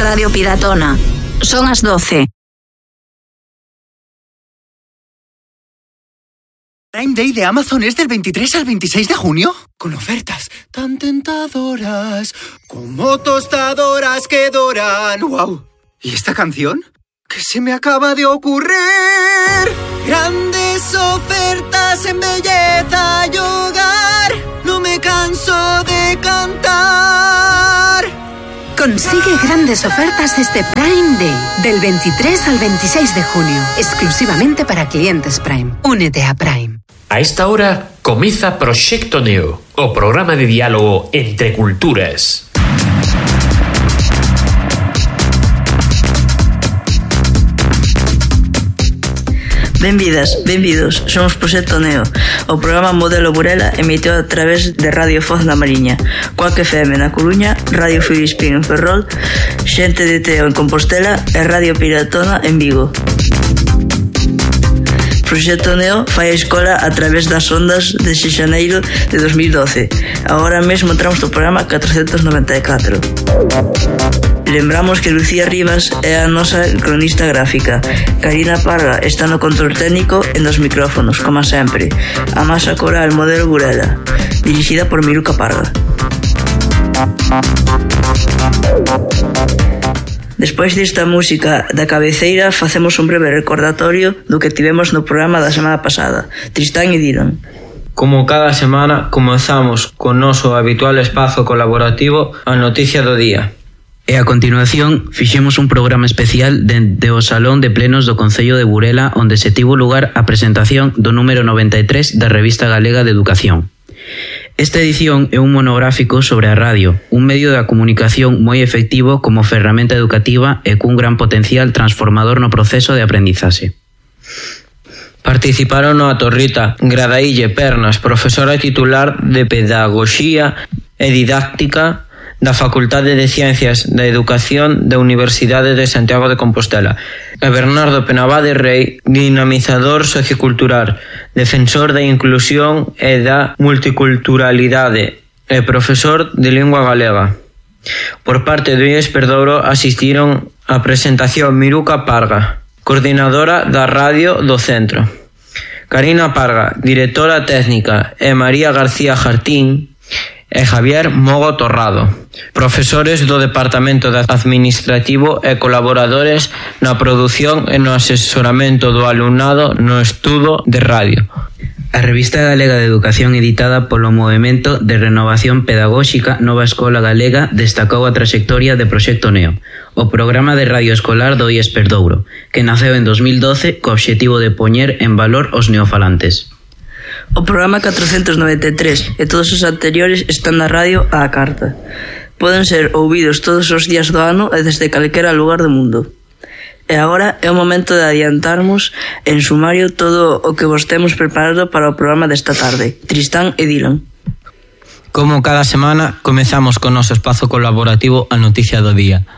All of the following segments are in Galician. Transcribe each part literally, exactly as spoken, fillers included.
Radio Piratona. Son as doce. Prime Day de Amazon es del veintitrés al veintiséis de junio, con ofertas tan tentadoras como tostadoras que doran. ¡Wow! ¿Y esta canción? ¿Qué se me acaba de ocurrir? Grandes ofertas en belleza y hogar, no me canso de cantar. Consigue grandes ofertas este Prime Day, del veintitrés al veintiséis de junio, exclusivamente para clientes Prime. Únete a Prime. A esta hora comienza Proxecto Neo, o programa de diálogo entre culturas. Benvidas, benvidos, somos Proxecto Neo, o programa Modelo Burela emitido a través de Radio Foz na Mariña, Cuac F M na Coruña, Radio Filispín en Ferrol, Xente de Teo en Compostela e Radio Piratona en Vigo. Proxecto Neo fai a escola a través das ondas de xaneiro de dos mil doce. Agora mesmo entramos no programa catrocentos noventa e catro. Lembramos que Lucía Rivas é a nosa cronista gráfica. Karina Parga está no control técnico e nos micrófonos, como sempre. A masa coral Modelo Burela, dirixida por Miruca Parga. Despois desta música da cabeceira, facemos un breve recordatorio do que tivemos no programa da semana pasada. Tristán e Dylan. Como cada semana, comezamos con noso habitual espazo colaborativo a noticia do día. E a continuación fixemos un programa especial dende o Salón de Plenos do Concello de Burela, onde se tivo lugar a presentación do número noventa e tres da Revista Galega de Educación. Esta edición é un monográfico sobre a radio, un medio da comunicación moi efectivo como ferramenta educativa e cun gran potencial transformador no proceso de aprendizaxe. Participaron a Torrita Gradaille Pernas, profesora titular de Pedagogía e Didáctica da Facultade de Ciencias da Educación da Universidade de Santiago de Compostela, e Bernardo Penabade Rei, dinamizador sociocultural, defensor da inclusión e da multiculturalidade e profesor de lingua galega. Por parte do I E S Perdouro asistiron á presentación Miruca Parga, coordinadora da radio do centro, Karina Parga, directora técnica, e María García Jartín e Javier Mogo Torrado, profesores do Departamento de Administrativo e colaboradores na produción e no asesoramento do alumnado no estudo de radio. A Revista Galega de Educación, editada polo Movemento de Renovación Pedagóxica Nova Escola Galega, destacou a traxectoria de Proxecto Neo, o programa de radio escolar do I E S Perdouro, que naceu en dos mil doce co obxectivo de poñer en valor os neofalantes. O programa catrocentos noventa e tres e todos os anteriores están na radio á carta. Poden ser ouvidos todos os días do ano e desde calquera lugar do mundo. E agora é o momento de adiantarmos en sumario todo o que vos temos preparado para o programa desta tarde. Tristán e Dylan. Como cada semana, comezamos con o noso espazo colaborativo a noticia do día.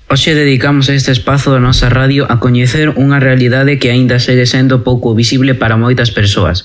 Hoxe dedicamos este espazo da nosa radio a coñecer unha realidade que aínda segue sendo pouco visible para moitas persoas: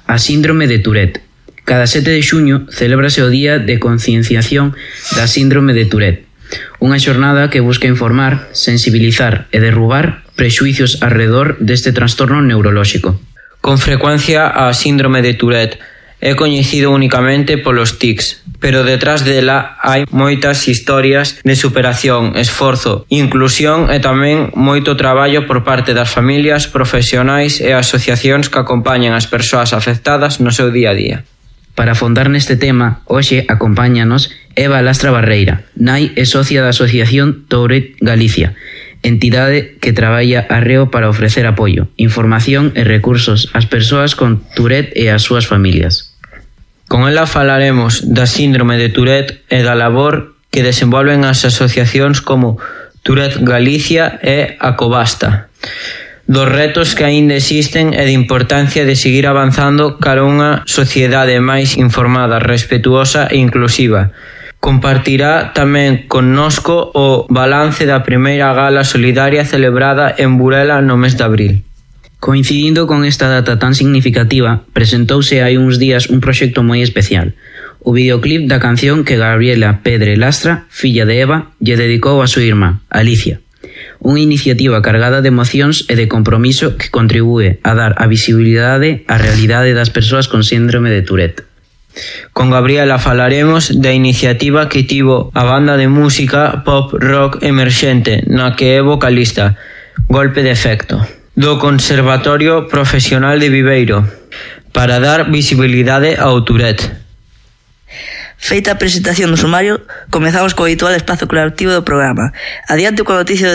a síndrome de Tourette. Cada sete de xuño celébrase o Día de Concienciación da Síndrome de Tourette, unha xornada que busca informar, sensibilizar e derrubar prexuicios arredor deste trastorno neurolóxico. Con frecuencia, a síndrome de Tourette é coñecido únicamente polos tics, pero detrás dela hai moitas historias de superación, esforzo, inclusión e tamén moito traballo por parte das familias, profesionais e asociacións que acompañan as persoas afectadas no seu día a día. Para afondar neste tema, hoxe acompáñanos Eva Lastra Barreira, nai e socia da Asociación Tourette Galicia, entidade que traballa arreo para ofrecer apoio, información e recursos ás persoas con Tourette e ás súas familias. Con ela falaremos da síndrome de Tourette e da labor que desenvolven as asociacións como Tourette Galicia e Acobasta, dos retos que aínda existen e de importancia de seguir avanzando cara a unha sociedade máis informada, respetuosa e inclusiva. Compartirá tamén connosco o balance da primeira gala solidaria celebrada en Burela no mes de abril. Coincidindo con esta data tan significativa, presentouse hai uns días un proxecto moi especial, o videoclip da canción que Gabriela Pedre Lastra, filla de Eva, lle dedicou a súa irmá, Alicia. Unha iniciativa cargada de emocións e de compromiso que contribúe a dar a visibilidade á realidade das persoas con síndrome de Tourette. Con Gabriela falaremos da iniciativa que tivo a banda de música pop rock emerxente na que é vocalista, Golpe de Efecto, do Conservatorio Profesional de Viveiro, para dar visibilidade ao Tourette. Feita a presentación do sumario, comezamos co habitual espazo creativo do programa. Adiante coa noticia do